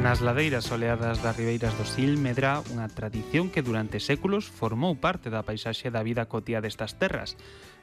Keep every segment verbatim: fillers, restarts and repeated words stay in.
Nas ladeiras soleadas das ribeiras do Sil medra unha tradición que durante séculos formou parte da paisaxe da vida cotiá destas terras.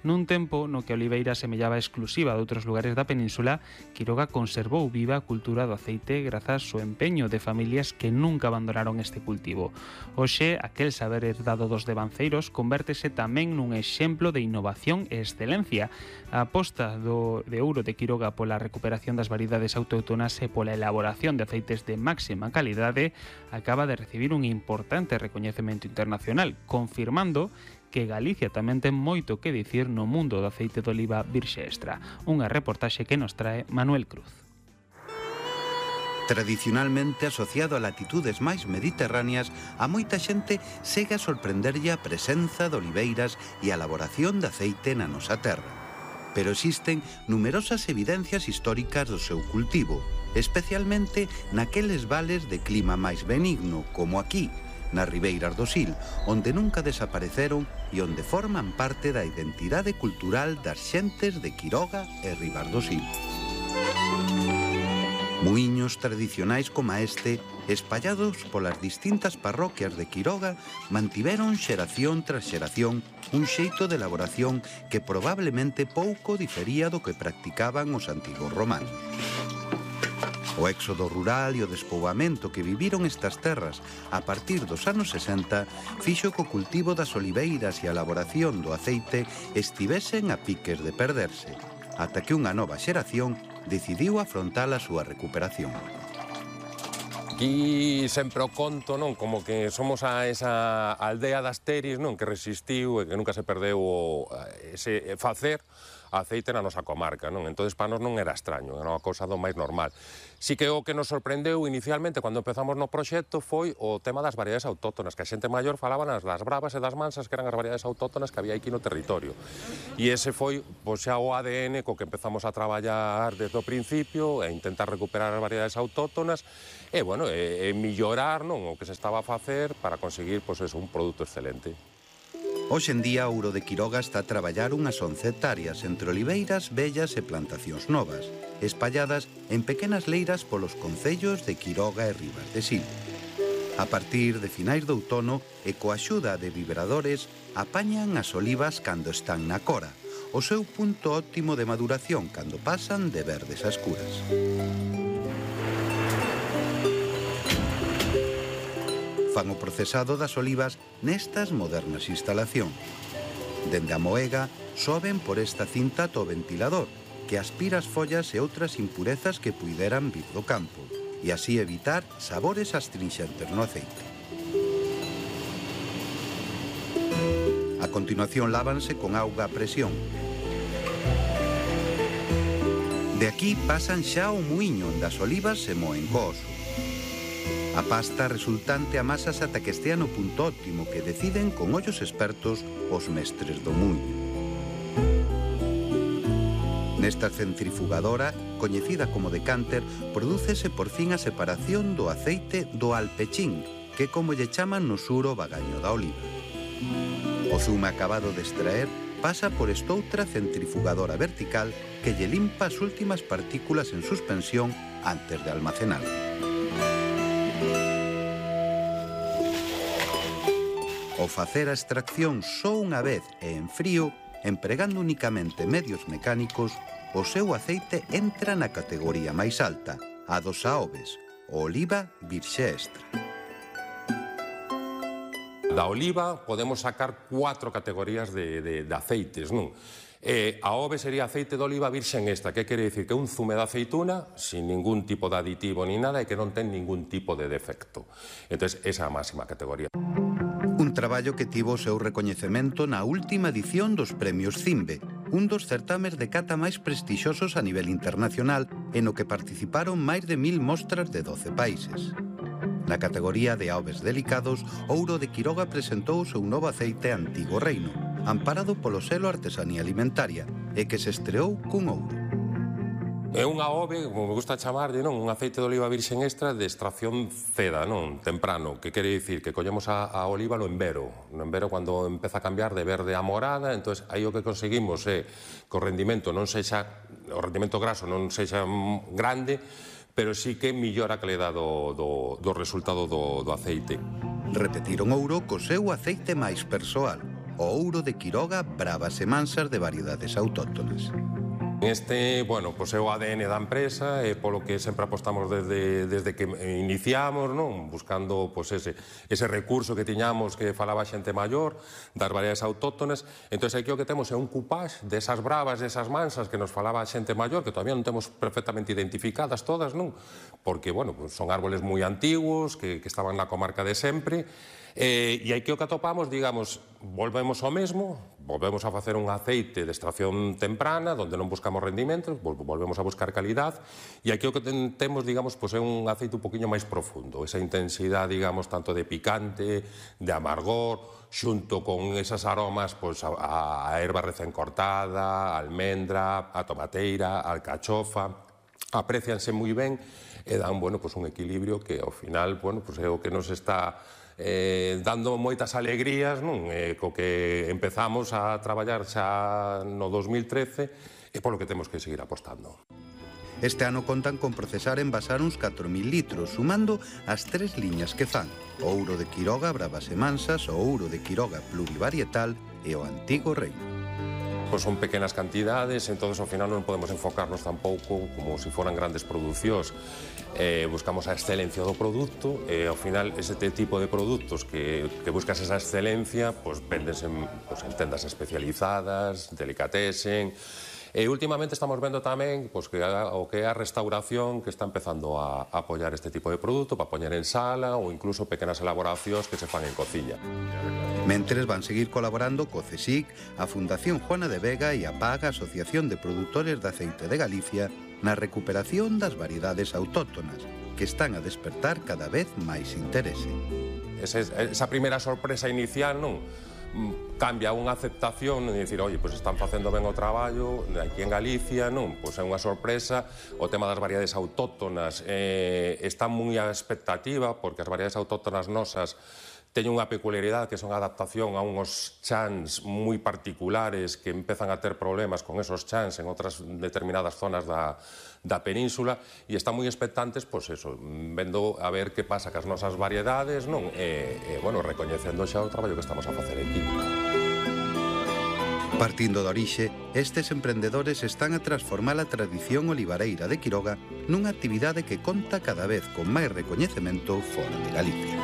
Nun tempo no que a oliveira semellaba exclusiva de outros lugares da península, Quiroga conservou viva a cultura do aceite grazas ao empeño de familias que nunca abandonaron este cultivo. Hoxe, aquel saber herdado dos devanceiros convértese tamén nun exemplo de innovación e excelencia. A aposta do, de ouro de Quiroga pola recuperación das variedades autóctonas e pola elaboración de aceites de máxima calidade acaba de recibir un importante recoñecemento internacional, confirmando que Galicia tamén ten moito que dicir no mundo do aceite de oliva virxe extra. Unha reportaxe que nos trae Manuel Cruz. Tradicionalmente asociado a latitudes máis mediterráneas, a moita xente segue a sorprenderlle a presenza de oliveiras e a elaboración de aceite na nosa terra. Pero existen numerosas evidencias históricas do seu cultivo, especialmente naqueles vales de clima máis benigno, como aquí, nas ribeiras do Sil, onde nunca desapareceron e onde forman parte da identidade cultural das xentes de Quiroga e Ribas do Sil. Muiños tradicionais como este, espallados polas distintas parroquias de Quiroga, mantiveron xeración tras xeración un xeito de elaboración que probablemente pouco difería do que practicaban os antigos romanos. O éxodo rural e o despoboamento que viviron estas terras a partir dos anos sesenta fixo que o cultivo das oliveiras e a elaboración do aceite estivesen a piques de perderse, ata que unha nova xeración decidiu afrontar a súa recuperación. Aquí sempre o conto, non? Como que somos a esa aldea das Teris, non? Que resistiu e que nunca se perdeu o, ese facer aceite na nosa comarca, non? Entón, para nós non era extraño, era unha cousa do máis normal. Si que o que nos sorprendeu inicialmente cando empezamos no proxecto foi o tema das variedades autóctonas, que a xente maior falaba nas das bravas e das mansas, que eran as variedades autóctonas que había aquí no territorio. E ese foi, pois, xa o A D N co que empezamos a traballar desde o principio e intentar recuperar as variedades autóctonas e, bueno, e, e millorar, non, o que se estaba a facer para conseguir, pois, eso, un produto excelente. Hoxe en día, Ouro de Quiroga está a traballar unhas once hectáreas entre oliveiras, vellas e plantacións novas, espalladas en pequenas leiras polos concellos de Quiroga e Ribas de Sil. A partir de finais do outono e coa axuda de vibradores, apañan as olivas cando están na cora, o seu punto óptimo de maduración cando pasan de verdes a escuras. Fan o procesado das olivas nestas modernas instalacións. Dende a moega, soben por esta cinta ata o ventilador, que aspira as follas e outras impurezas que puideran vir do campo, e así evitar sabores astrinxentes no aceite. A continuación lávanse con auga a presión. De aquí pasan xa ao muiño onde as olivas se moen co oso. A pasta resultante amasas ata que estea no punto óptimo que deciden con ollos expertos os mestres do muiño. Nesta centrifugadora, coñecida como decánter, prodúcese por fin a separación do aceite do alpechín, que como lle chaman no sur o bagaño da oliva. O zume acabado de extraer pasa por estoutra centrifugadora vertical que lle limpa as últimas partículas en suspensión antes de almacenar. O facer a extracción só unha vez e en frío, empregando únicamente medios mecánicos, o seu aceite entra na categoría máis alta, a dos aoves, o oliva virxe extra. Da oliva podemos sacar cuatro categorías de, de, de aceites, non? Eh, a ove sería aceite de oliva virxen extra, que quere dicir que un zume de aceituna sin ningún tipo de aditivo ni nada e que non ten ningún tipo de defecto. Entón, esa é a máxima categoría. Un traballo que tivo o seu recoñecemento na última edición dos Premios Cimbe, un dos certames de cata máis prestixiosos a nivel internacional e no que participaron máis de mil mostras de doce países. Na categoría de aoves delicados, Ouro de Quiroga presentou o seu novo aceite Antigo Reino, amparado polo selo Artesanía Alimentaria, e que se estreou cun ouro. É unha ove, como me gusta chamarlle, non? Un aceite de oliva virxen extra de extracción ceda, non? Temprano, que quere dicir que collemos a, a oliva no envero. No envero cando empeza a cambiar de verde a morada, entón aí o que conseguimos é que o rendimento non sexa, o rendimento graso non sexa grande, pero sí que millora a calidad do, do, do resultado do, do aceite. Repetiron Ouro co seu aceite máis persoal, o Ouro de Quiroga Bravas e Mansas de variedades autóctonas. Este, bueno, pois é o A D N da empresa e polo que sempre apostamos desde, desde que iniciamos, non? Buscando pois, ese, ese recurso que tiñamos que falaba xente maior, das variedades autóctonas. Entón, aquí o que temos é un cupage desas bravas, desas mansas que nos falaba a xente maior, que todavía non temos perfectamente identificadas todas, non? Porque, bueno, pues son árboles moi antigos, que, que estaban na comarca de sempre. Eh, e aquí o que atopamos, digamos, volvemos ao mesmo, volvemos a facer un aceite de extracción temprana, onde non buscamos rendimentos, volvemos a buscar calidad, e aquí o que ten, temos, digamos, pues é un aceite un poquinho máis profundo, esa intensidade, digamos, tanto de picante, de amargor, xunto con esas aromas, pues, a, a erva recén cortada, a almendra, a tomateira, a alcachofa, aprecianse moi ben e dan, bueno, pues un equilibrio que ao final, bueno, pues é o que nos está eh, dando moitas alegrías, non? Eh, co que empezamos a traballar xa no dos mil trece e polo que temos que seguir apostando. Este ano contan con procesar e envasar uns catro mil litros, sumando as tres liñas que fan: o Ouro de Quiroga Bravas e Mansas, o Ouro de Quiroga Plurivarietal e o Antigo Reino. Pois son pequenas cantidades, entón ao final non podemos enfocarnos tampouco como se foran grandes producións. Eh, buscamos a excelencia do produto e ao final ese tipo de produtos que, que buscas esa excelencia pois véndense en, pois, en tendas especializadas, delicatessen. E últimamente estamos vendo tamén pois, que a, o que é a restauración que está empezando a, a apoiar este tipo de produto para poñer en sala ou incluso pequenas elaboracións que se fan en cociña. Mentres van seguir colaborando co CSIC, a Fundación Juana de Vega e a PAG, Asociación de Produtores de Aceite de Galicia, na recuperación das variedades autóctonas, que están a despertar cada vez máis interese. Ese, esa primeira sorpresa inicial, non? Cambia unha aceptación e dicir, oi, pois están facendo ben o traballo aquí en Galicia, non? Pois é unha sorpresa. O tema das variedades autóctonas eh, está moi a expectativa, porque as variedades autóctonas nosas teñen unha peculiaridade que son a adaptación a unhos chans moi particulares que empezan a ter problemas con esos chans en outras determinadas zonas da, da península e están moi expectantes, pois eso, vendo a ver que pasa cas nosas variedades, non? E, e bueno, recoñecendo xa o traballo que estamos a facer aquí. Partindo da orixe, estes emprendedores están a transformar a tradición olivareira de Quiroga nunha actividade que conta cada vez con máis recoñecemento fora de Galicia.